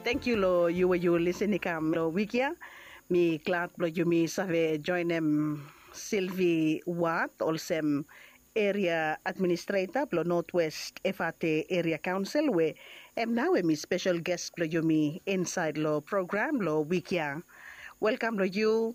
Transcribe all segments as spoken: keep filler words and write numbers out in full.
Tangkiu long yu we yu lisin i kam long wik ya. Mi glad blong yumi save joenem Silvi Wat olsem eria administreta blong Notwest Efate Eria Kaonsel we em nao em i spesel ges blong yumi insaed long program long wik ya. Welkam long yu,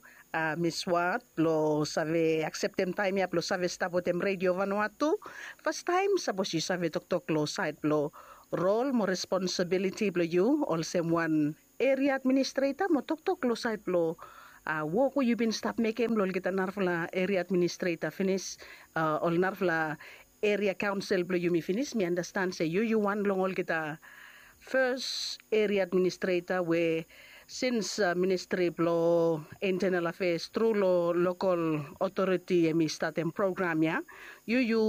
Miss Wat, blong save akseptem taem ya blong save stap wetem Redio Vanuatu. Fastaem sapos yu save toktok long saed blong rol mo responsibiliti blong yu olsem wan eria administreta mo toktok long saed blong wok we yu bin stap mekem long olgeta narafala eria administreta finis, ol narafala eria kaonsel blong yumi finis. Mi andastan se yu yu wan long olgeta fes eria administreta we sins ministri blong intenal afeas tru long lokal otoriti em i statem program ya, yu yu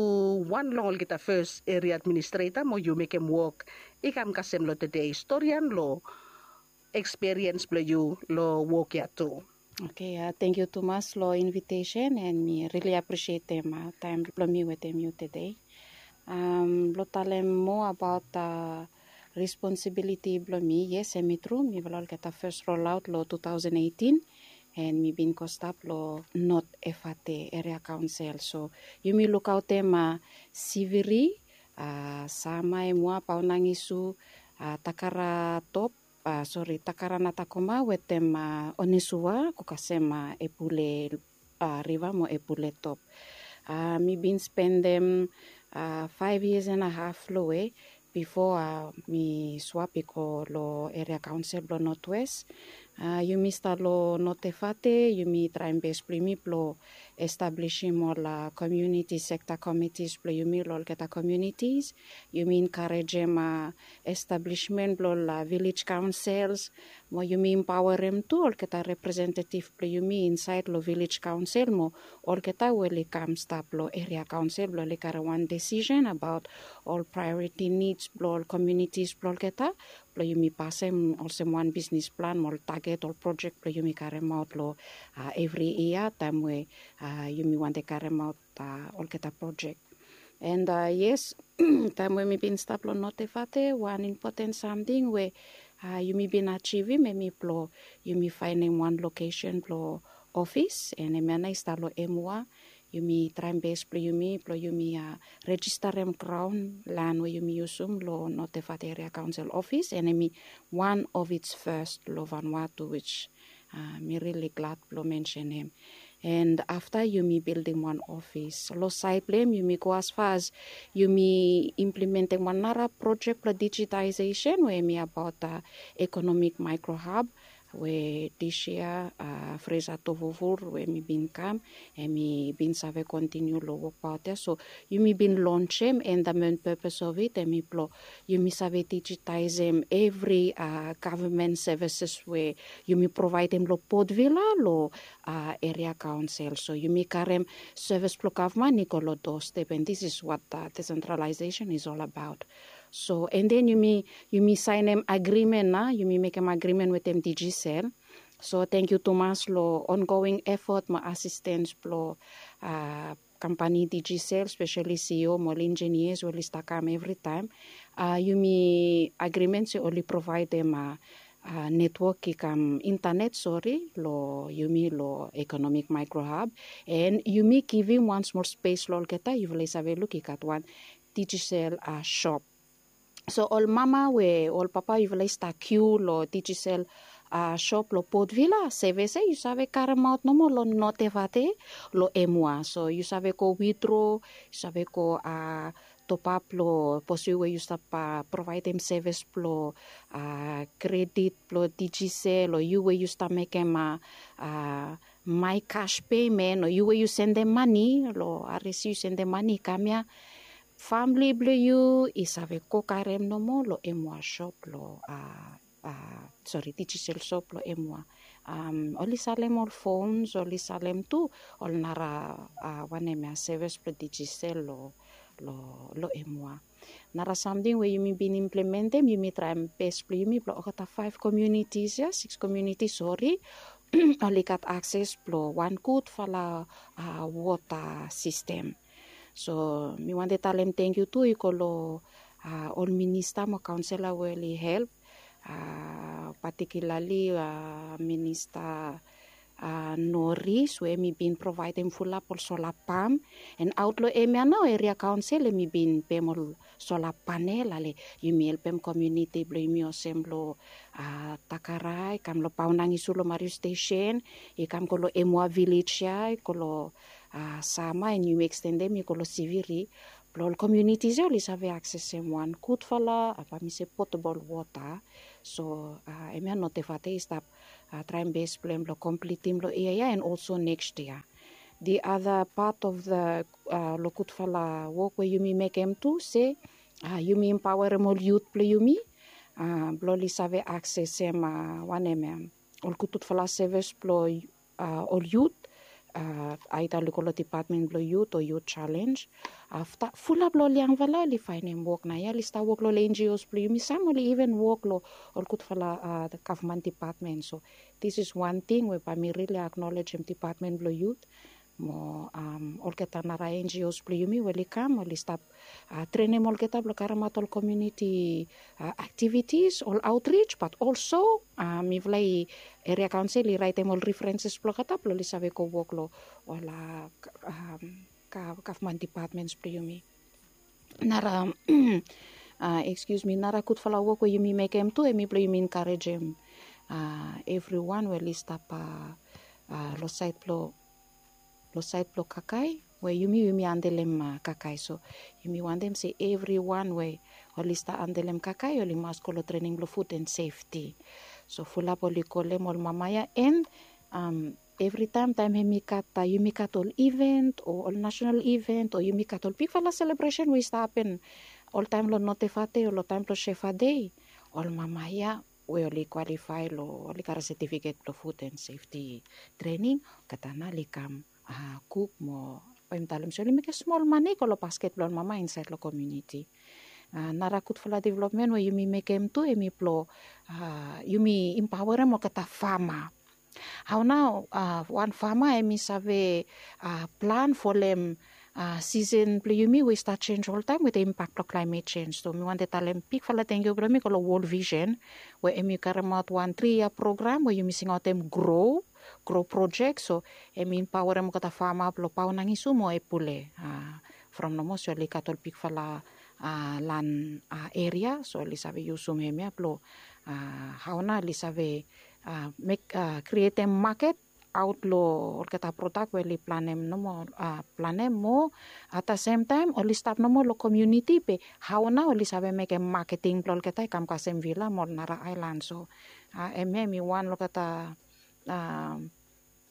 wan long olgeta fes eria administreta mo yu mekem wok i kam kasem long tede storian long eksperiens blong yu long wok ya tu. Oke, tangkiu tumas long invitesen, and mi rili apresietem taem blong mi wetem yu tede. Blong talem moa abaot responsibiliti blong mi, yes, em i tru mifala olgeta fes rolaot long two thousand eighteen, and mi bin go stap long Not Efate Eria Kaonsel. So yumi lukaotem Siviri, Sama, Emua, Paonangisu, Takara Top, sori, Takara Natakoma wetem Onesua go kasem Epule Riva mo Epule Top. Mi bin spendem faef yias and a haf long we bifo mi swap i go long eria kaonsel blong Notwest. Yumi stap long Not Efate, yumi traem bes blong yumi blong establisim ol komiuniti sekta komitis blong yumi long olgeta komiunitis. Yumi enkarejem establismen blong ol vilej kaonsels, mo yumi empaoarem tu olgeta representetif blong yumi insaed long vilej kaonsel mo olgeta we oli kam stap long eria kaonsel blong oli karem wan desisen abaot ol praeoriti nids blong ol komiunitis blong olgeta, blong yumi pasem olsem wan bisnis plan mo ol taget ol projek blong yumi karemaot long evri yia taem we yumi wantem karemaot olgeta projek. And yes, taem we mi bin stap long Not Efate, wan impoten samting we yumi bin ajivim em i blong yumi faenem wan lokesen blong ofis, and hemia nao i stap long Emua. Yumi traem bes blong yumi blong yumi rejistarem graon lan we yumi yusum long Not Efate Eria Kaonsel ofis, and em i wan of its fes long Vanuatu, which mi rili glad blong mensenem. And afta yumi bildim wan ofis long saed blong hem, yumi go asfas yumi implementem wan nara projek blong dijitaesesen we em i abaot ekonomik maekrohab, we dis yia Fresa Tovovur we mi bin kam, em i bin save kontiniu long wokbaot ya. So yumi bin lonsem, and the main purpose of it em i blong yumi save dijitaesem evri gavman sevises we yumi provaedem long Port Vila long eria kaonsel. So yumi karem sevis blong gavman i go long doorstep, and this is what decentralization is all about. So and then yumi yumi saenem agrimen nao, yumi mekem agrimen wetem Digicel. So tangkiu tumas long ongoing efot mo asistens blong kampani Digicel, speseli CEO mo ol enjinias we oli stap kam evritaem. Yumi agrimen se oli provaedem netwok i kam intanet, sori, long yumi long ekonomik maekrohab, and yumi givim wan smol spes long olgeta. Yufala i save luk i gat wan Digicel sop. So ol mama we ol papa yufala i stap kiu long Digicel sop long Port Vila, sevis ya yu save karemaot nomo long Not Efate long Emua. So yu save go withdraw, yu save go topap long posui we yu stap provaedem sevis blong kredit blong Digicel, o yu we yu stap mekem MyCash payment, o yu we yu sendem mane long RSC, yu sendem mane i kam ya, famili blong yu i save go karem nomo long Emua sop long sori, Digicel sop long Emua. Oli salem ol fons, oli salem tu ol nara wanem ya, sevis blong Digicel long long Emua. Nara samting we yumi bin implementem, yumi traem bes blong yumi blong olgeta faef komiunitis ya, sikis komiunitis, sori, oli gat akses blong wan gudfala wota sistem. So mi wantem talem tangkiu tu i go long ol minista mo kaonsela we oli help a, patikilali a, minista a, noris we em i bin provaedem fulap ol sola pam. An aot long em ya nao eria kaonsel em i bin pem ol sola panel ale yumi helpem komiuniti blong yumi olsem long a, takarai kam long paonangisu long mariu stesen, i kam go long emua vilej ya i go long a, sama an yumi ekstendem i go long siviri. Blong ol komiunitis ya oli save aksesem wan gudfala a, bae mi se potabol wota. So a, em ya notefate i stap a, traem bes blong em blong komplitim long yia ya an olso neks yia. The other part of the a, long gudfala wok we yumi mekem tu se a, yumi impaoerem ol yut blong yumi a, blong oli save aksesem a, wanem ya, ol gudgudfala sevis blong a, ol yut a, aeda oli go long dipatmen blong yut o yut jalenj. Afta fulap long ol yangfala oli faenem wok naoia oli stap wok long ol enjios blong yumi, sam oli iven wok long ol gudfala a, gavman dipatmen. So this is wan ting we bae mi rili aknolejem dipatmen blong yut mo a, olgeta nara enjios blong yumi we oli kam oli stap a, trenem olgeta blong karemaot ol komiuniti a, aktivitis ol aotrij bat olso a, mifala i eria kaonsel i raetem ol refrenses blong olgeta blong oli save go wok long ol a, gavman dipatmens blong yumi. Nara a, ekskius mi, nara gudfala wok we yumi mekem tu em i blong yumi enkarejem a, evriwan we oli stap a, a, long saed blong long saed blong kakae we yumi yumi andelem kakae. So yumi wantem se evriwan we oli stap andelem kakae oli mas go long trening blong fut an sefti. So fulap oli kolem ol mama ya an evritaem taem hem i gat yumi gat ol iven o ol nasenal iven o yumi gat ol bigfala selebresen we i stap hapen oltaem long notefate o long taem blong sefade, ol mama ya we oli kwalifae long oli gat setifiket blong fut an sefti trening, olgeta nao oli kam a, kuk mo bae mi talem se oli mekem smol mane i go long basket blong ol mama insaed long komiuniti. A, nara gudfala developmen we yumi mekem tu em i blong a, yumi impaoerem olgeta fama. Hao nao a, wan fama em i save a, plan folem a, sisen blong yumi we i stap jenj oltaem wetem impak blong klaemet jenj. So mi wantem talem bigfala tangkiu blong mi go long wol visen we em i karemaot wan tri yia program we yumi singaotem gro gro projek. So em i impaoerem olgeta fama blong paonangisu mo epule a, from nomo se oli gat ol bigfala a, lan a, eria so oli save yusum hemia blong a, hao nao oli save a, mek a, krietem maket aot long olgeta prodak we oli planem nomo a, planem mo ata semtaem oli stap nomo long komiuniti be hao nao oli save mekem maketing blong olgeta i kam kasem vila mo ol nara aelan. So a, hemia em i wan long olgeta a,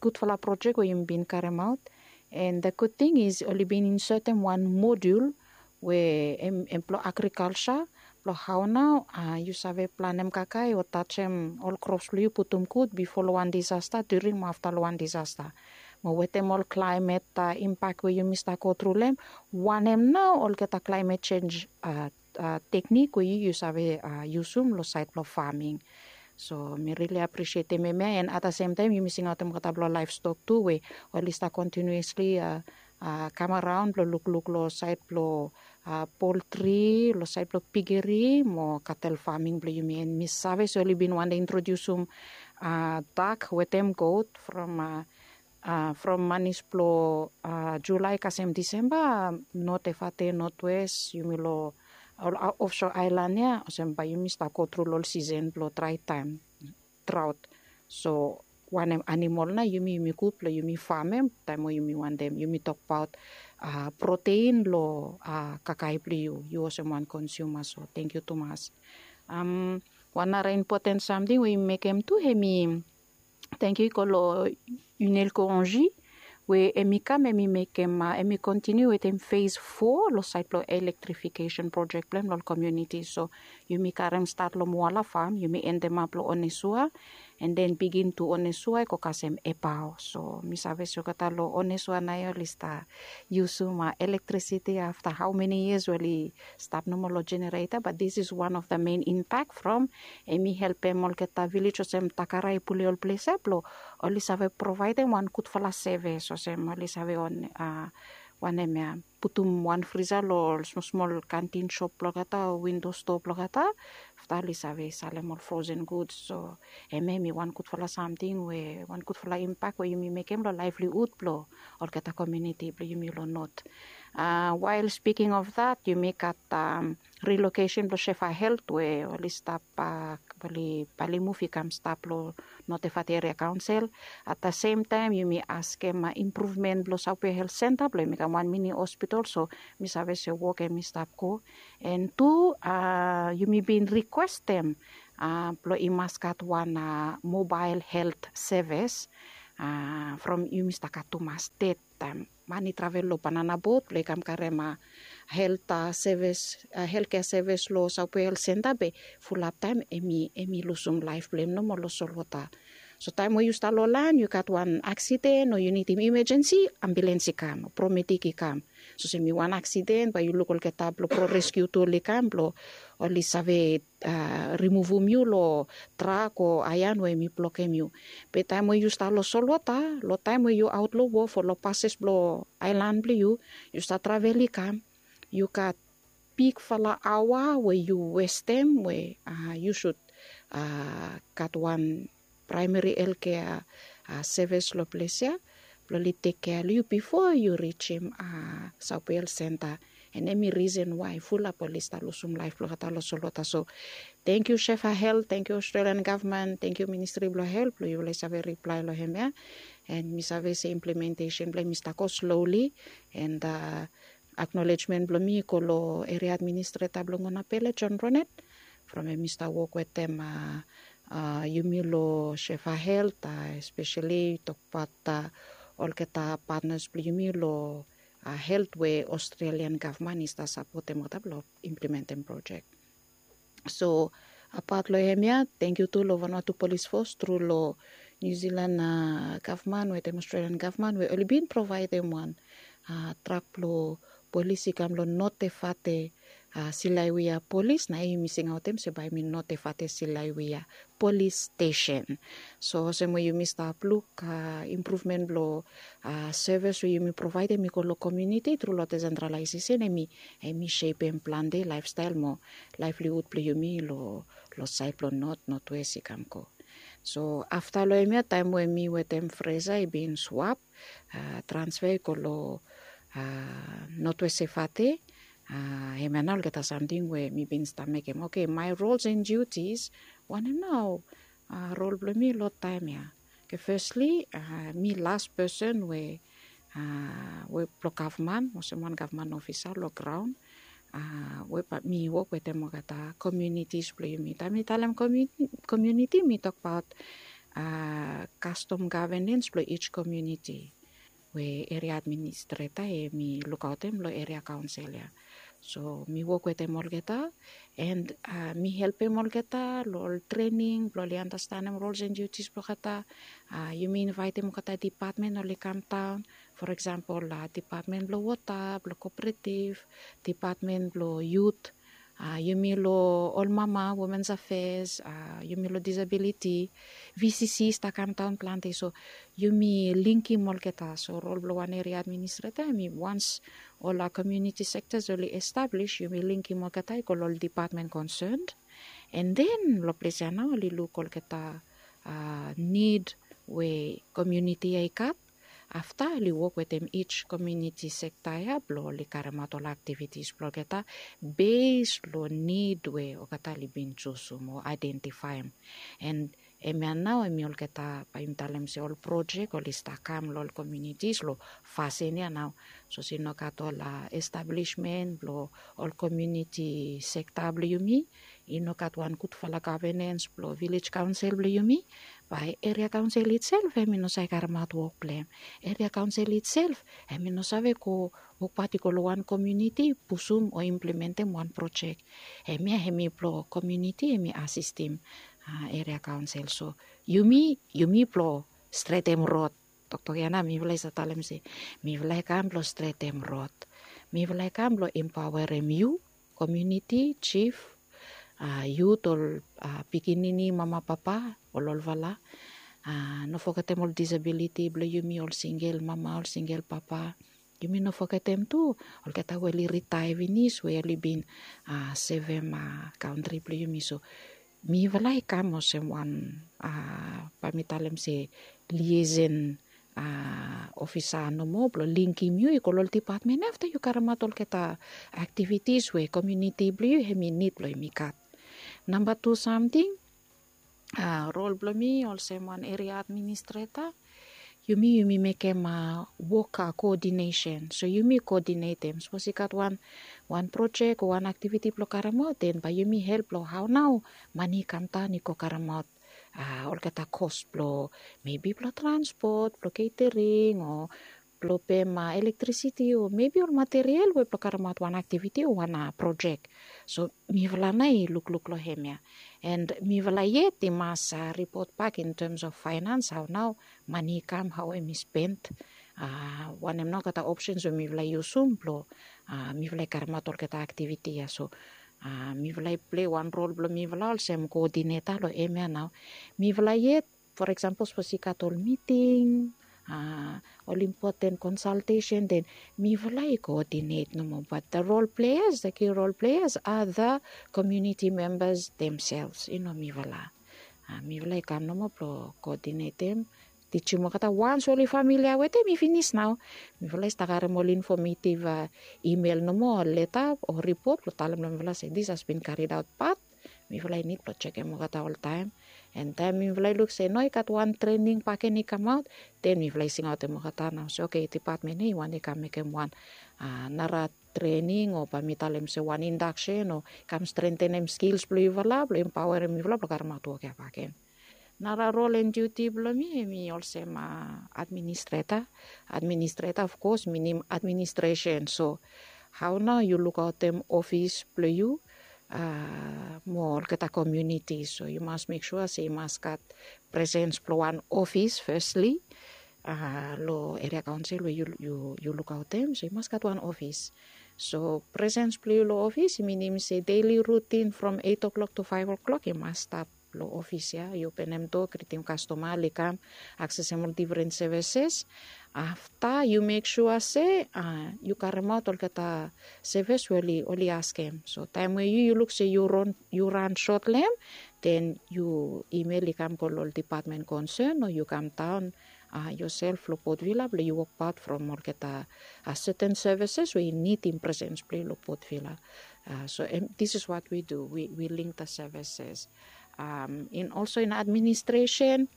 gudfala projek we yumi bin karemaot. An the gud ting is oli bin insetem wan modul we em blong agrikalsa blong hao nao a, yu save planem kakae o tajem ol krops blong yu putum gud bifo long wan disasta, during mo afta long wan disasta. Mo wetem ol klaemet a, impak we yumi stap go tru long hem, wanem nao olgeta klaemet jenj a, teknik we yu yu save a, yusum long saed blong faming. So mi rili apresietem hemia an ata semtaem yumi singaotem olgeta blong laevstok tu we oli stap kontinuesli a, kam araon blong lukluk long saed blong a, poltri long saed blong pigeri mo katel faming blong yumi. An mi save se oli bin wantem introdiusum a, dak wetem got from a, a, from manis blong a, julae kasem disemba, notefate notwes yumi long ol ofso aelan ya olsem bae yumi stap go tru long ol sisen blong draetaem, draot. So wanem animol nao yumi yumi gud blong yumi famem taem we yumi wantem yumi tokbaot a, protein long a, kakae blong yu, yu olsem wan konsiuma. So tangkiu tumas. Wan nara impoten samting we yumi mekem tu hem i tangkiu i go long Unel Koronji we hem i kam hem i mekem a, hem i kontiniu wetem fes fo long saed blong elektrifikesen projek blong hem long ol komiuniti. So yumi karem stat long Moala fam, yumi endemap long Onesua, an den bigin tu Onesua i go kasem Epao. So mi save se olgeta long Onesua naoia oli stap yusum a, elektrisiti afta hao meni yias we oli stap nomo long jenereta, bat this is one of the main impak from hem i helpem olgeta vilej olsem Takara, Epule, ol ples ya blong oli save provaedem wan gudfala sevis olsem oli save on a, wanem ya, putum wan frisa long ol smolsmol kantin sop blong olgeta o windo stoa blong olgeta afta oli save salem ol frozen guds. So hemia hemi wan gudfala samting we wan gudfala impak we yumi mekem long laevlihud blong olgeta komiuniti blong yumi long not. Wael spiking of dat, yumi gat rilokesen blong Shefa Helt we oli stap, oli bae oli muv i kam stap long Notefat Eria Kaonsel. At the same taem yumi askem impruvmen blong Saupea Helt Senta blong hem i kam wan mini hospital. So mi save se wok hemi stap go. And tu yumi bin rikwestem blong i mas gat wan mobael helt sevis from yumi stap gat tumas ded taem man i travel long banana bot blong i kam karem helt sevis, helt kea sevis long Saupea Helt Senta be fulap taem hemi lusum laef blong hem nomo long solwota. So taem we yu stap long laen yu gat wan aksiden o yu nidim imajensi, ambulens i kam o promedik i kam. So se mi wan aksiden bae yu luk olgeta blong pro reskiu tu oli kam blong oli save rimuvum yu long trak o aean we hemi blokem yu. Be taem we yu stap long solwota, long taem we yu aot long wof o long pases blong aelan blong yu, yu stap travel i kam, yu gat bigfala aoa we yu westem we yu sud gat wan praemeri helkea sevis long ples ya blong oli tekkea long yu bifo yu rijim Saupea Helt Senta. And hemi risen wae fulap oli stap lusum laef blong olgeta long solwota. So tangkiu Shefa Helt, tangkiu Australian gavman, tangkiu Ministri blong Helt blong yufala i save riplae long hemia. And mi save se implementesen blong hem i stap go sloli. And aknolejmen blong mi i go long eria administreta blong Ngunapele, John Roned, from hem i stap wok wetem yumi long Shefa Helt, espeseli tokbaot olgeta patnas blong yumi long helt we Australian gavman i stap sapotem olgeta blong implementem projek. So apaot long hemia, tangkiu tu long Vanuatu Polis Fos tru long Niu Jilan gavman wetem Australian gavman we oli bin provaedem wan trak blong polis i kam long Notefate Silaiwia Polis, na yumi singaotem se bae hemi Notefate Silaiwia Polis Stesen. So olsem we yumi stap luk impruvmen blong sevis we yumi provaedem i go long komiuniti tru long desentralaesesen, hemi sepem plante laefstael mo laevlihud blong yumi long saed blong not, notwes i kam go. So afta long hemia taem we mi wetem Fresa i bin swap, transfea i go long Notwes Sefate, hemia nao olgeta samting we mi bin stap mekem. Oke, my roles and duties, wanem nao rol blong mi long taem ya? Oke, fesli mi las pesen we we blong gavman olsem wan gavman ofisa long graon we bae mi wok wetem olgeta komiunitis blong yumi. Taem mi talem komiuniti mi tokbaot kastom gavenens blong each komiuniti we eria administreta hemi lukaotem long eria kaonsel ya. So mi wok wetem olgeta and mi helpem olgeta long ol trening blong oli anastanem rols and duties blong olgeta. Yumi invaetem olgeta dipatmen oli kamdaon, for eksempel dipatmen blong wota, blong koperetiv, dipatmen blong yut, yumi long ol mama, womens afeas, yumi long disabiliti, vcc i stap kamdaon plante. So yumi linkim olgeta. So rol blong wan eria administreta hemi wans ol komiuniti sektas oli establis, yumi linkim olgeta i go long ol dipatmen konsen. And then long ples ya nao oli luk olgeta nid we komiuniti ya i gat. Afta oli wok wetem each komiuniti sekta ya blong oli karemaot ol aktivitis blong olgeta bes long nid we olgeta oli bin jusum o aedentifaem. And hemia nao hemi olgeta bae yumi talem se ol projek oli stap kam long ol komiunitis long fasin ya nao. Sapos i no gat ol establismen blong ol komiuniti sekta blong yumi, i no gat wan gudfala gavenens blong vilej kaonsel blong yumi, bae eria kaonsel itself hemi no save karemaot wok blong hem. Eria kaonsel itself hemi no save go wokbaot i go long wan komiuniti pusum o implementem wan projek. Hemia hemi blong komiuniti hemi asistem eria kaonsel. So yumi, yumi blong stretem rod. Toktok ya nao mifala i save talem se mifala i kam blong stretem rod. Mifala i kam blong empaoerem yu komiuniti, jif, yut, ol pikinini, mama, papa, ol olfala. No fogetem ol disabiliti blong yumi, ol singel mama, ol singel papa. Yumi no fogetem tu olgeta we oli ritaea finis we oli bin sevem kantri blong yumi. So mifala i kam olsem wan, bae mi talem se, liaison ofisa nomo blong lingim yu i go long ol dipatmen ya afta yu karemaot olgeta aktivitis we komuniti blong yu hem i nid blong hem i gat. Namba tu samting, rol blong mi olsem wan eria administreta, yumi yumi mekem wok koodinesen. So yumi koodinetem sapos i gat wan wan projek o wan aktiviti blong karemaot, den bae yumi help long hao nao mani i kamdaon i go karemaot olgeta kos blong mebi blong transpot, blong ketering o blong pem elektrisiti o mebi ol material we blong karemaot wan aktiviti o wan projek. So mifala nao i lukluk long hem ya. And mifala yet i mas ripot bak in tems of faenans hao nao mani i kam, hao hem i spen. Wanem nao olgeta opsens we mifala i yusum blong mifala i karemaot olgeta aktiviti ya. So mifala i pilei wan rol blong mifala olsem koodineta long hem ya nao. Mifala yet, for eksempel sapos i gat ol miting, ol impoten konsaltesen, den mifala i koodinet nomo, bat the rol pleas the ki rol pleas a the komuniti membas demsels i no mifala. Mifala i kam nomo blong koodinetem, tijim olgeta wans we oli familia wetem i finis nao. Mifala i stap harem ol infomeitiv imel nomo o leta o ripot blong talem long mifala se dis has bin karidaot bat mifala i nid blong jekem olgeta oltaem. And taem mifala i luk se no i gat wan trening baken i kamaot, den mifala i singaotem olgeta nao se oke, dipatmen ya i wantem i kam mekem wan nara trening o bae mi talem se wan indaksen o kam strentenem skils blong yufala blong empaoerem yufala blong karemaot wok ya baken. Nara rol and diuti blong mi hem i olsem administreta. Administreta of kos minim administresen. So hao nao yu lukaotem ofis blong yu mo olgeta komuniti. So yu mas mek sua se i mas gat presens blong wan ofis fesli long eria kaonsel we yu lukaotem, so i mas gat wan ofis. So presens blong yu long ofis i minim se deili rutin from eit o'klok tu faef o'klok i mas stap long ofis ya. Yu openem doa, gritim kastoma oli kam, aksesem ol difren sevises. Afta yu mek sua se yu karemaot olgeta sevis we oli askem. So taem we yu yu luk se yu ran sot long hem, den yu imel i kam go long ol dipatmen konsen o yu kamdaon yosel long Port Vila blong yu wokbaot from olgeta seten sevises we i nidim presens blong yu long Port Vila. So this is what we do, we link the services. And also in administration,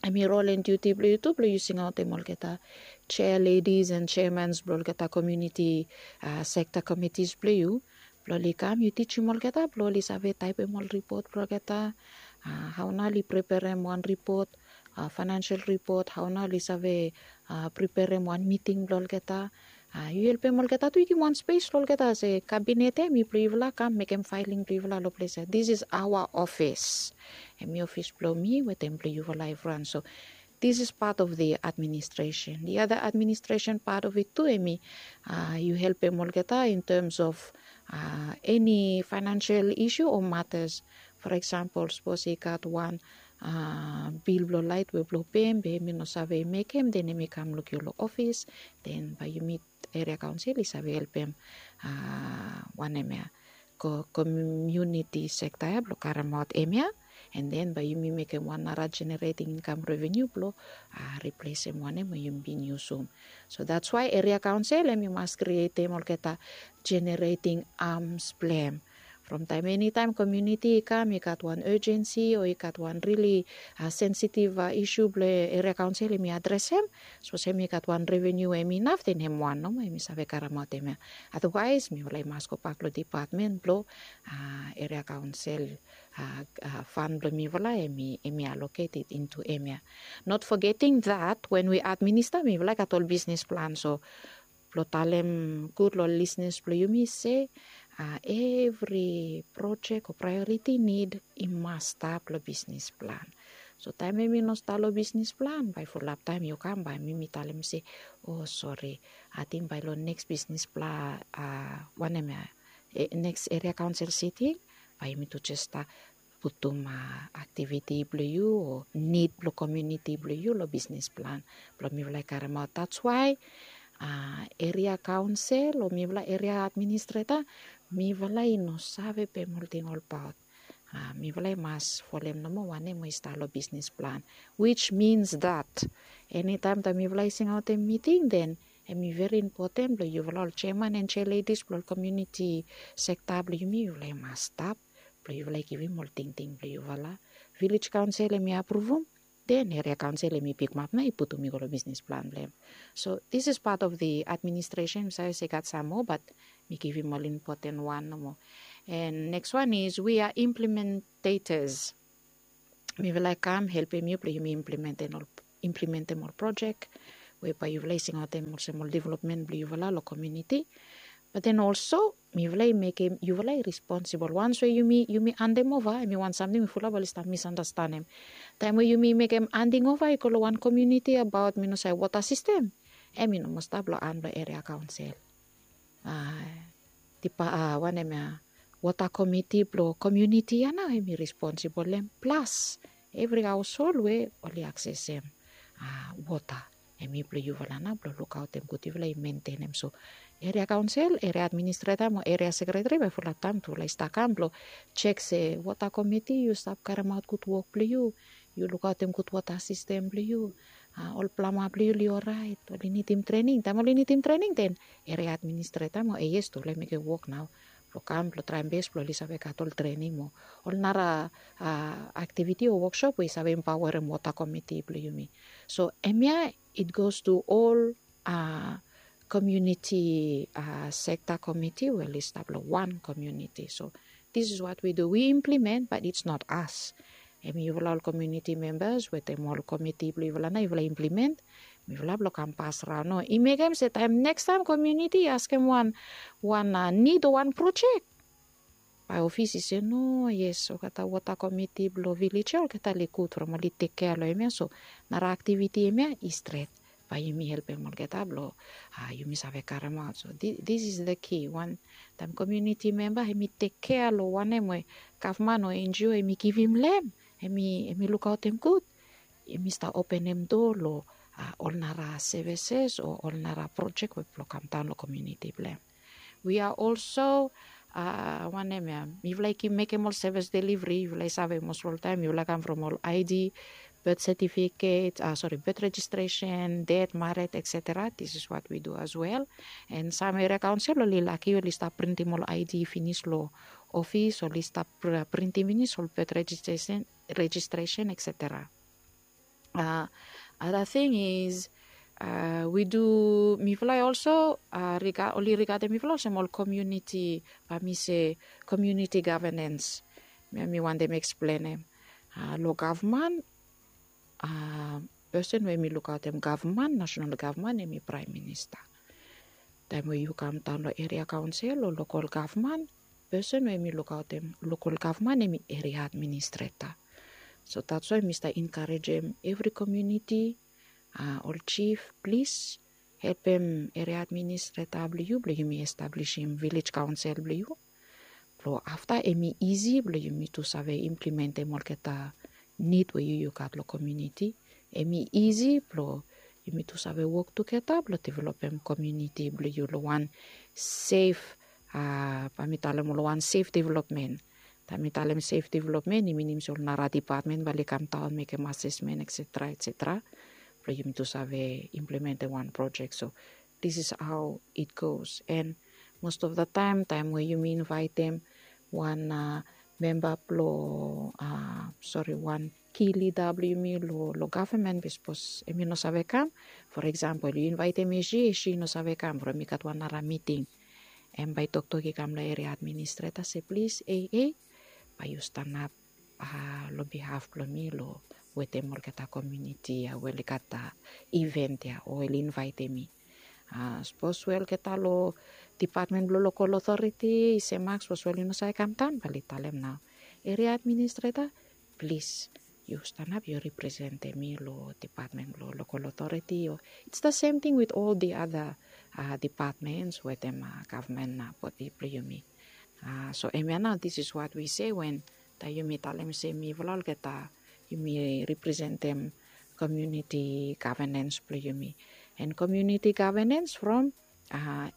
hem i rol and diuti blong yu tu blong yu singaotem olgeta chair ladies and chairmans blong olgeta komuniti sekta komitis blong yu, blong oli kam yu tijim olgeta blong oli save taepem ol ripot blong olgeta, hao nao oli preperem wan ripot, faenansel ripot, hao nao oli save preperem wan miting blong olgeta. Yu helpem olgeta tu, yu givim wan spes long olgeta se kabinet ya hem i blong yufala, kam mekem faeling blong yufala long ples ya. This is our office. Hem i ofis blong mi wetem blong yufala evriwan. So this is part of the administration. The other administration part of it tu hem i yu helpem olgeta in terms of eni faenansel isu o matas. For eksempel sapos i gat wan bil blong laet we blong pem be hem i no save mekem, den hem i kam luk yu long ofis, den bae yumi eria kaonsel i save helpem wanem ya, komuniti sekta ya blong karemaot hem ya. And then bae yumi mekem wan nara generating income revenue blong riplesem wanem we yumi bin yusum. So that's why eria kaonsel hem i mas krietem olgeta generating arms blong hem. From taem enitaem komuniti i kam i gat wan urgency o i gat wan rili sensitive isu blong eria kaonsel hem i adresem, sapos hem i gat wan revenue we hem inaf, den hem wan nomo hem i save karemaotem ya. Otherwise mifala i mas gobak long dipatmen blong eria kaonsel fan blong mifala hem i allocated into hem ya. Not forgetting that when we administer, mifala i gat ol bisnis plan. So blong talem gud long ol lisnis blong yumi se evri projek o priority nid i mas stap long bisnis plan. So taem hem i no stap long bisnis plan, bae fulap taem yu kam bae mi mi talem se, o sori, ating bae long neks bisnis plan, wanem ya, neks eria kaonsel siting bae yumi tu jes stap putum aktiviti blong yu o nid blong komuniti blong yu long bisnis plan blong mifala i karemaot. That's why eria kaonsel o mifala eria administreta, mifala i no save pem ol ting olbaot. Mifala i mas folem nomo wanem we i stap long bisnis plan, which means that enitaem taem mifala i singaotem miting, then em i veri impoten blong yufala ol jeaman and jealedis blong ol komuniti sekta blong yumi, yufala i mas stap blong yufala i givim ol tingting blong yufala. Vilej kaonsel em i apruvum, then eria kaonsel em i pikimap nao i putum i go long bisnis plan blong em. So this is part of the administration. Mi save se i gat sam moa, bat mi givim ol impoten wan nomo. And next one is we are implementators. Mifala i kam helpem yu blong yumi implementem ol projek we bae yufala i singaotem olsem ol developmen blong yufala long komuniti. Bat then olso mifala i mekem yufala i responsibol. Wans we yumi andem ova, em i wan samting we fulap oli stap misandastanem. Taem we yumi mekem anding ova i go long wan komuniti abaot mi no save wota sistem, em i no moa stap long han blong eria kaonsel. Wanem ya, wota komiti blong komuniti ya nao em i responsibol long em. Plas evri haoshol we oli aksesem wota, em i blong yufala nao blong lukaotem gud yufala i mentenem. So eria kaonsel, eria administreta mo eria sekreteri bae fulap taem tufala i stap kam blong jek se wota komiti yu stap karemaot gud wok blong yu, yu lukaotem gud wota sistem blong yu, ol plama blong yu oli oraet, oli nidim trening. Taem oli nidim trening, then eria administreta mo AS tufala i mekem wok nao blong kam blong traem bes blong oli save gat ol trening mo ol nara aktiviti o woksop we i save empaoarem wota komiti blong yumi. So hemia it goes to ol komuniti sekta komiti we oli stap long wan komuniti. So this is what we do, we implement, but it's not us. Em yufala ol komuniti membas wetem ol komiti blong yufala nao yufala implement. Mifala blong kam pas raon nao i mekem se taem nekstaem komuniti i askem wan wan nid o wan projek, bae ofis i se no, yes, olgeta wota komiti blong vilej ya olgeta oli gud from oli tekkea long hemia. So nara aktiviti hemia i stret, bae yumi helpem olgeta blong yumi save karemaot. So this is the key. Wan taem komuniti memba hemi tekkea long wanem we gavman o NGO hemi givim long hem, hemi lukaotem gud, hemi stap openem doa long ol nara sevises o ol nara projek we blong kamdaon long komuniti blong hem. We are also wanem ya, mifala i mekem ol sevis deliveri. Yufala i save mos oltaem yufala i kam from ol ID, birth certificate, sori, birth registration, death, married, et cetera. This is what we do as well. And sam eria kaonsel oli laki oli stap printim ol ID finis long ofis, oli stap printim finis ol birth registration, registration, et cetera. Other thing is we do, mifala i also oli rigatem mifala olsem ol komuniti, bae mi se komuniti gavenens. Mi wantem eksplenem. Long gavman, pesen we hemi lukaotem gavman, nasenal gavman, hemi praem minista. Taem we yu kamdaon long eria kaonsel o lokol gavman, pesen we hemi lukaotem lokol gavman hemi eria administreta. So that's why mi stap enkarejem evri komuniti, ol jif, plis helpem eria administreta blong yu blong yumi establisim vilej kaonsel blong yu. Blong afta hemi isi blong yumi tu save implementem olgeta nid we yu yu gat long komuniti. Hemi isi blong yumi tu save wok tugeta blong developem komuniti blong yu long wan sef, bae mi talem, long wan sef developmen. Taem mi talem sef developmen i minim se ol nara depatmen bae oli kamdaon mekem asesmen, et cetera, et cetera, blong yumi tu save implementem wan projek. So this is how it goes. And most of the time, taem we yumi invaetem wan memba blong, sori, wan ki lida blong yumi long gavman, be sapos hemi no save kam, for example yu invaetem Eshi, Eshi i no save kam from i gat wan nara miting, hem bae i toktok i kam long eria administreta se plis, ei, ei, bae yu stanap long bihaf blong mi long wetem olgeta komuniti ya we oli gat iven ya o oli invaetem mi. Sapos we olgeta long depatmen blong lokol otoreti i se mak, sapos we oli no save kamdaon, bae oli talem nao, eria administreta, plis, yu stanap yu representem mi long depatmen blong lokol otoreti o it's the same thing with all the other depatmens wetem gavman bodi blong yumi. So hemia nao, this is what we say wen taem yumi talem se mifala olgeta yumi representem komuniti gavenens blong yumi. And community governance from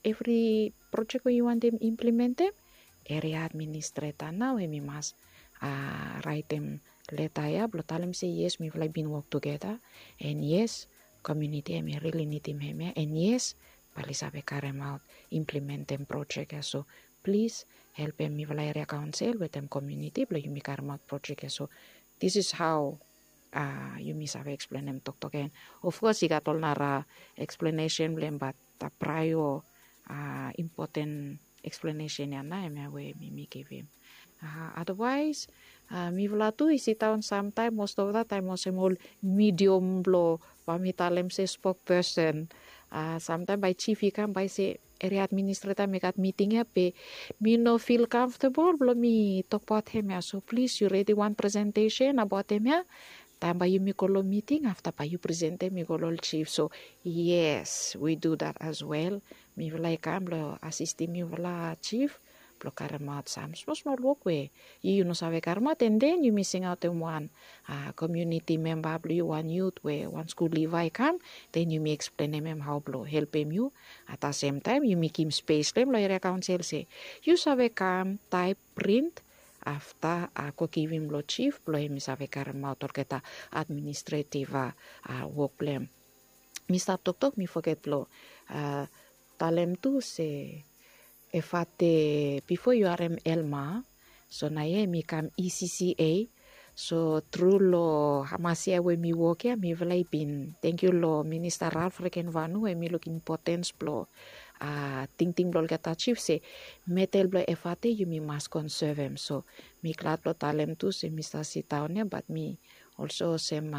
evri projek we yu wantem implementem, eria administreta nao em i mas raetem leta ya blong talem se yes, mifala i bin wok tugeta. And yes, komiuniti em i rili nidim hemia. And yes, bae oli save karemaot, implementem projek ya. So plis, helpem mifala eria kaonsel wetem komiuniti blong yumi karemaot projek ya. So this is how yumi save eksplenem toktok ya. And ofkos i gat ol nara eksplenesen blong em, bat praeo impoten eksplenesen ya nao hemia we mi mi givim. Advaes, mifala tu i sidaon samtaem, most of the taem olsem ol midiom blong bae mi talem se spokpesen. Samtaem bae jif i kam bae i se, eria administreta, mi gat miting ya be mi no fil kamftabol blong mi tokbaot hemia. So plis, yu redi wan presentesen abaot hemia. Taem bae yumi go long miting, afta bae yu presentem i go long ol jif. So yes, we do that as well. Mifala i kam blong asistim yufala jif blong karemaot sam smosmol wok we yu yu no save karemaot, and then yumi singaotem wan komiuniti memba blong yu, wan yut we wan skul liva i kam, then yumi eksplenem em hao blong helpem yu. At the same time yumi givim spes long em long eria kaonsel se yu save kam taep, print, afta go givim long jif blong em i save karemaot olgeta administretiv wok blong em. Mi stap toktok, mi foget blong talem tu se Efate, bifo yu harem Elma, so naoia em i kam E C C A. So tru long hamas yia we mi wok ya, mifala i bin tangkiu long Minista Ralph Rekenvanu we em i lukim impotens blong tingting blong olgeta jif se metel blong Efate yumi mas konsevem. So mi glad blong talem tu se mi stap sidaon ya, bat mi olsem olsem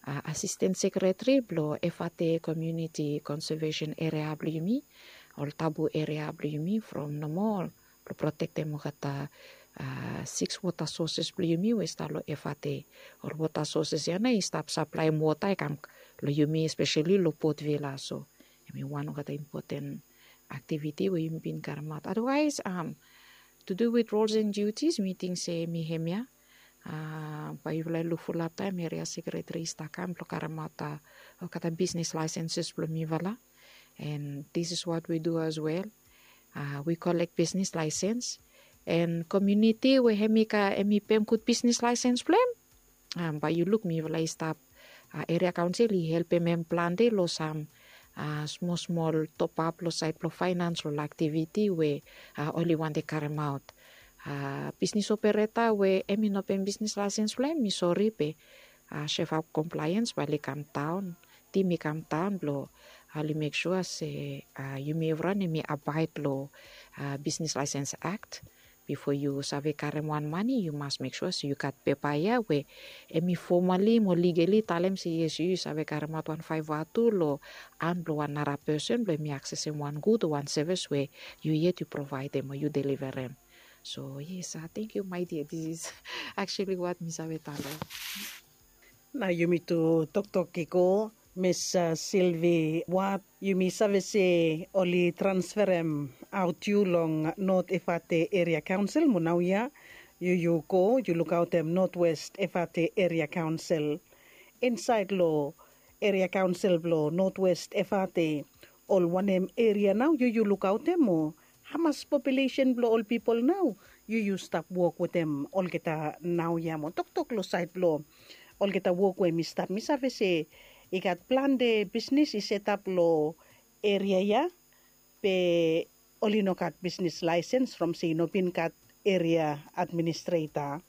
asisten sekreteri blong Efate Komiuniti Konsevesen Eria blong yumi, ol tabu eria blong yumi from nomo blong protektem olgeta siks wota soses blong yumi we i stap long Efate. Ol wota soses ya nao i stap saplaem wota i kam long yumi, espeseli long Port Vila. So em i wan olgeta impoten aktiviti we yumi bin karemaot. Advaes, to do with roles and duties, mi ting se em i hemia. Bae yufala i luk fulap taem eria sekreteri i stap kam blong karemaot olgeta bisnis laesenses blong mifala. And this is what we do as well. We collect business license. And komiuniti we em i pem gud bisnis laesens blong em, bae yu luk mifala i stap, eria kaonsel i helpem em plante long sam smosmol topap long saed blong faenans, long aktiviti we oli wantem karemaot. Bisnis opereta we em i no pem bisnis laesens blong em, mi sori be Shefap Komplaens bae oli kamdaon, tim i kamdaon blong oli mek sua se yumi evriwan em i abaed long Bisnis Laesens Akt. Bifo yu save karem wan mane, yu mas mek sua se yu gat pepa ya we em i fomali mo ligeli talem se yes, yu yu save karemaot wan faeva tu long han blong wan nara pesen blong em i aksesem wan gud o wan sevis we yu yet yu provaedem o yu deliverem. So yes, tangkiu my dear, this is actually what mi save talem. Nao yumi tu toktok i go, Miss Silvi Wat, yumi save se oli transferem aot yu long Not Efate Eria Kaonsel, mo naoia yu yu go yu lukaotem Notwest Efate Eria Kaonsel. Insaed long eria kaonsel blong Notwest Efate, ol wanem eria nao yu yu lukaotem, o hamas populesen blong ol pipol nao yu yu stap wok wetem olgeta naoia? Mo toktok long saed blong olgeta wok we mi stap, mi save se i gat plante bisnis i setap long eria ya, be oli no gat bisnis laesens from se i no bin gat eria administreta.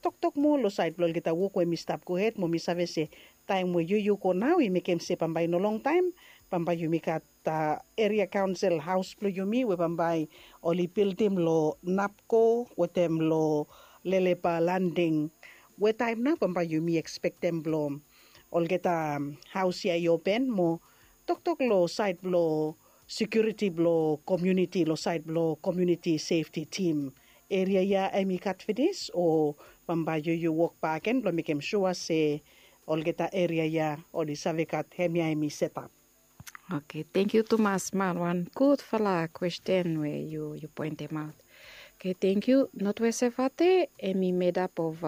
Toktok moa long saed blong olgeta wok we mi stap gohed, mo mi save se taem we yu yu go nao i mekem se bambae i no longtaem bambae yumi gat eria kaonsel haos blong yumi we bambae oli bildim long Napko wetem long Lelepa Landing, we taem nao bambae yumi ekspektem blong olgeta haos ya i open. Mo toktok long saed blong sekiuriti blong komiuniti, long saed blong komiuniti sefti tim, eria ya em i gat finis o bambae yu yu wok bakegen blong mekem sua se olgeta eria ya oli save gat hemia em i setap? Oke, tangkiu tumas man, wan gudfala kwesten we yu yu poentemaot. Oke, tangkiu. Notwest Efate em i medap of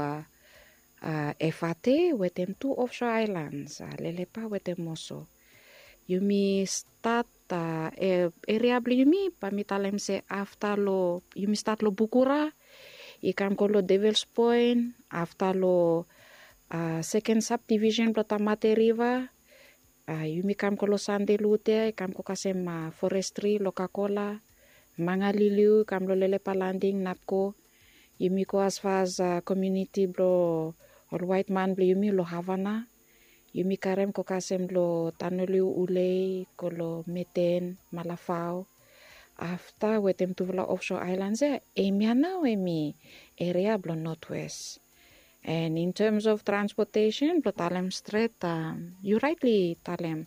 Efate wetem tu ofso aelans, Lelepa wetem Oso. Yumi stat eria blong yumi bae mi talem se afta long yumi stat long bukura, i kam go long devils point, afta long seken sabdivisen blong tamate riva, yumi kam go long sande lute i kam go kasem forestri long kakola, mangaliliu i kam long lelepa landing napko. Yumi go asfas komiuniti blong ol waetman blong yumi long havana. Yumi karem go kasem long tanoliu ulei go long meten malafao. Afta wetem tufala ofso aelan se em ya nao em i eria blong notwes. And in terms of transpotesen blong talem stret, yu raetli talem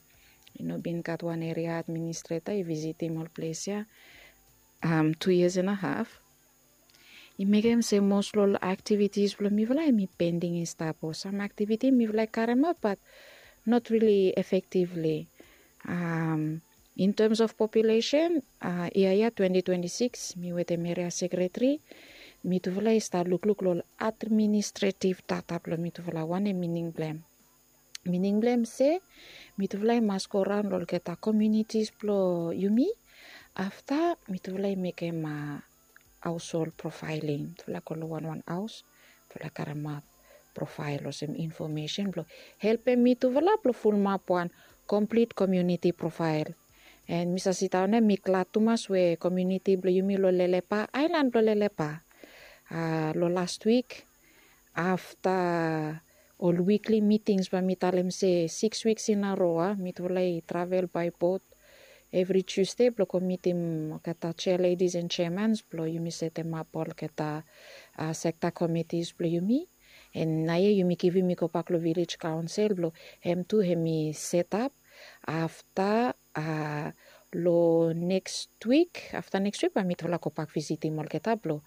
i no bin gat wan eria administreta i visitim ol ples ya tu yias en a haf. I mekem se mos long ol aktivitis blong mifala em i pending i stap o sam aktiviti mifala i karemaot bat not rili efektivli. In terms of populesen, yia ya twenty twenty six mi wetem eria sekretari mitufala i stap lukluk long ol administretiv data blong mitufala wanem mining blong em. Mining blong em se mitufala i mas go raon long olgeta komiunitis blong yumi. Afta mitufala i mekem haoshol profaeling mitufala go long wanwan haos mitufala karemaot profael olsem infomesen blong helpem mitufala blong fulumap wan komplit komiuniti profael. En mi save sidaon ya mi glad tumas we komiuniti blong yumi long lelepa aelan blong lelepa long last wik afta ol wikli mitings bae mi talem se siks wiks in a ro a mitufala i travel bae bot evri tiusde blong go mitim olgeta jea ledis en jeamans blong yumi setemap olgeta sekta komitis blong yumi. En naoia yumi givim i gobak long vilej kaonsel blong hem tu hem i setap afta long neks wik afta neks wik bae mitufala gobak visitim olgeta blong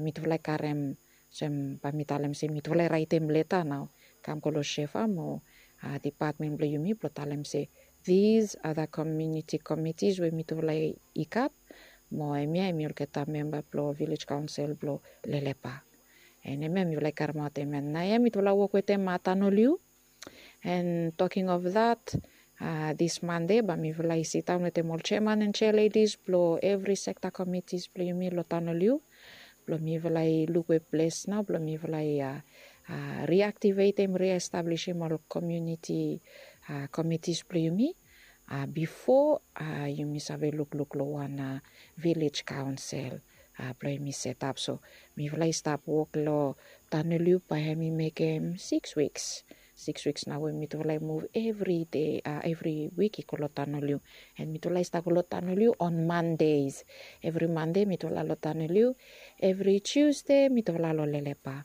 mitufala i karem olsem bae mi talem se mitufala i raetem leta nao kam go long shefa mo dipatmen blong yumi blong talem se dis ada komiuniti komitis we mitufala i gat mo hemia hemi olgeta memba blong vilej kaonsel blong lelepa. En hemia mifala i karemaot hemia naoia mitufala wok wetem matanoliu. En toking of dat dis mande bae mifala i sidaon wetem ol jeaman en jea ledis blong evri sekta komitis blong yumi long taon oliu blong mifala i luk we ples nao blong mifala i riaktivetem riestablisim ol komiuniti komitis blong yumi bifo yumi save lukluk long wan vilej kaonsel blong yumi setap so mifala i stap wok long taon oliu bae hem i mekem siks wiks. Siks wiks nao we mitufala i muv evri dei evri wik i go long taon oliu. En mitufala i stap go long taon oliu on mandes evri mande mitufala long taon oliu evri tiusde mitufala long lelepa.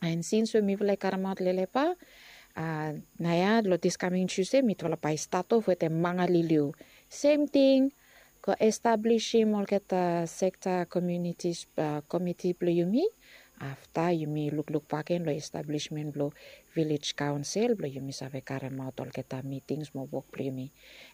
En sins we mifala i karemaot lelepa naoia long dis kaming tiusde mitufala bae i stat of wetem mangaliliu. Sem ting go establisim olgeta sekta komiunitis komiti blong yumi afta yumi lukluk bakegen long establismen blong vilej kaonsel blong yumi save karemaot olgeta mitings mo wok blong yumi.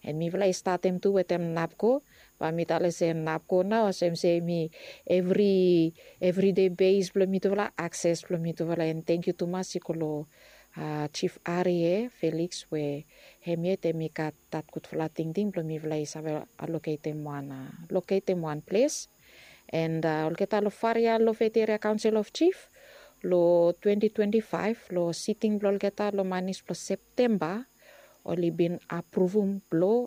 En mifala i statem tu wetem napko bae mi talem se napko nao olsem se mi evri evridei bes blong mitufala akses blong mitufala en tengkiu tumas i go long jif arie feliks we hem yet hem i gat dat gudfala tingting blong mifala i save aloketem wan loketem wan ples. En olgeta long faria long federal council of chief long twenty twenty five long siting blong olgeta long manis blong septemba oli bin apruvum blong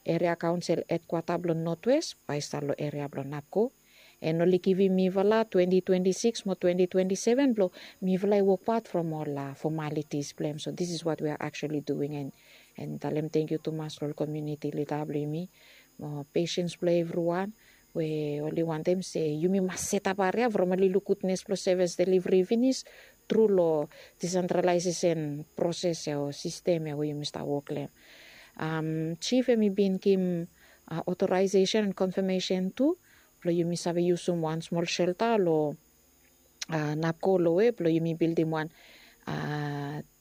eria kaonsel hedkwata blong notwes bae i stap long eria blong napko. En oli givim mifala twenty twenty six mo twenty twenty seven blong mifala i wokbaot from ol fomalitis blong em so dis is wat we a aksuali duing en talem tengkiu tumas long ol komiuniti lida blong yumi mo pesens blong evriwan we oli wantem se yumi mas setap aria from oli luk gudnes blong sevis delivri finis tru long disentralaesesen proses ya o sistem ya we yumi stap wok long em. Jif hem i bin givim otoraesesen en konfamesen tu blong yumi save yusum wan smol selta long napko long we blong yumi bildim wan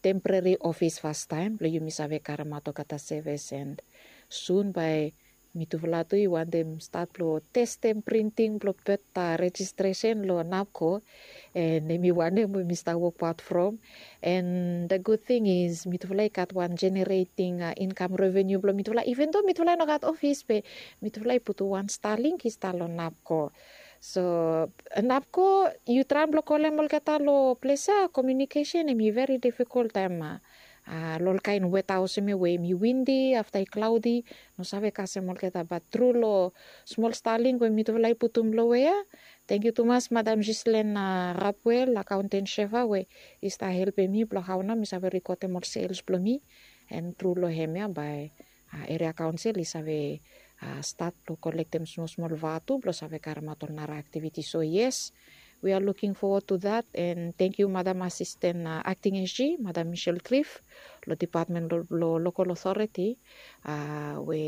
temporari ofis fastaem blong yumi save karemaot olgeta sevis en sun bae Mitufala tu i wantem stat blong testem printing blong birth rejistresen long NAPCO. And em i wanem we mi stap wokbaot from. And the good thing is mitufala i gat wan generating uh, income revenue blong mitufala, even though mitufala i no gat ofis be mitufala i putum wan Starlink i stap long NAPCO. So NAPCO, yu traem blong kolem olgeta long ples ya, communication em i very difficult taem uh, uh, long ol kaen weta olsem ya we em i windy afta i cloudy, no save kasem olgeta. But tru long smol Starlink we mitufala i putum long we ya, thank you tumas Madam Gislen uh, Rapwell, accountant Sheva, we i stap helpem mi blong hao nao mi save rekodem ol sales blong mi. And tru long hem ya bae uh, area council i save uh, stat blong kolektem smol smol vatu blong save karemaot ol nara activity. So yes, we are looking forward to that. And thank you Madam Assistant uh, Acting SG, Madam Michelle Cliff, long Department lo, lo Local Authority uh, we